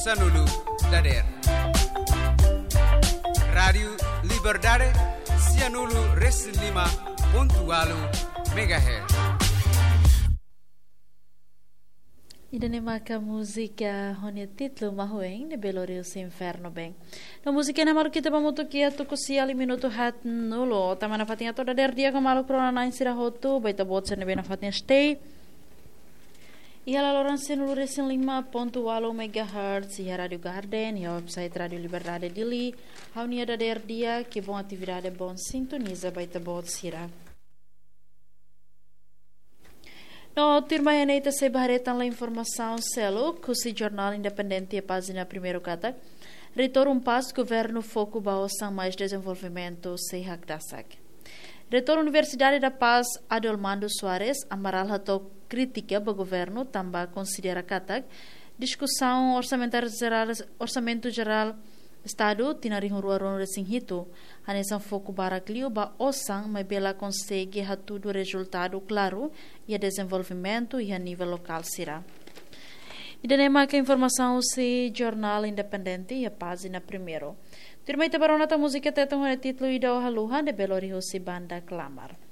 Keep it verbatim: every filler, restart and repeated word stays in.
Sanulu dader. Rádiu Liberdade, sianulu resin lima pontu walu megahertz. Ida-ne'e maka múzika ho nia títulu Mahueng de Belo Rio Inferno Bem. No múzika ne'e malu ita ba mutu kia tuku sia liu minutu haat nulu. Tama nafatin atu dader di'ak ho maluk rona-na'in sira hotu, ba ita-boot sira ne'ebé nafatin stay. Iha laloran sianulu resin lima pontu walu megahertz, iha Rádiu Garden, iha website Rádiu Liberdade Dili, ha'u-nia dader di'ak, kibon atividade, bon sintoniza ba ita-boot sira. No tuirmai ne'e ita sei ba haree tan informasaun seluk husi Jornál Independente iha pájina primeiru katak, Reitór UNPAZ, governu foku ba osan mais dezenvolvimentu sei hakdasak. Reitór Universidade da Paz, Adolmando Soares Amaral hato'o krítika ba governu tanba konsidera katak diskusaun orsamentáriu jerál, orsamentu jerál Estadu tinan rihun rua ruanulu resin hitu, hanesan foku barak liu ba osan maibé la konsege hatudu rezultadu klaru iha dezenvolvimentu iha nivel lokál sira. Ida-ne'e maka informasaun husi Jornál Independente iha pájina primeiru. Tuirmai ita ba rona tan múzika Tetun ho nia títulu Ida Ó Haluha de Belo Rio husi banda Klamar.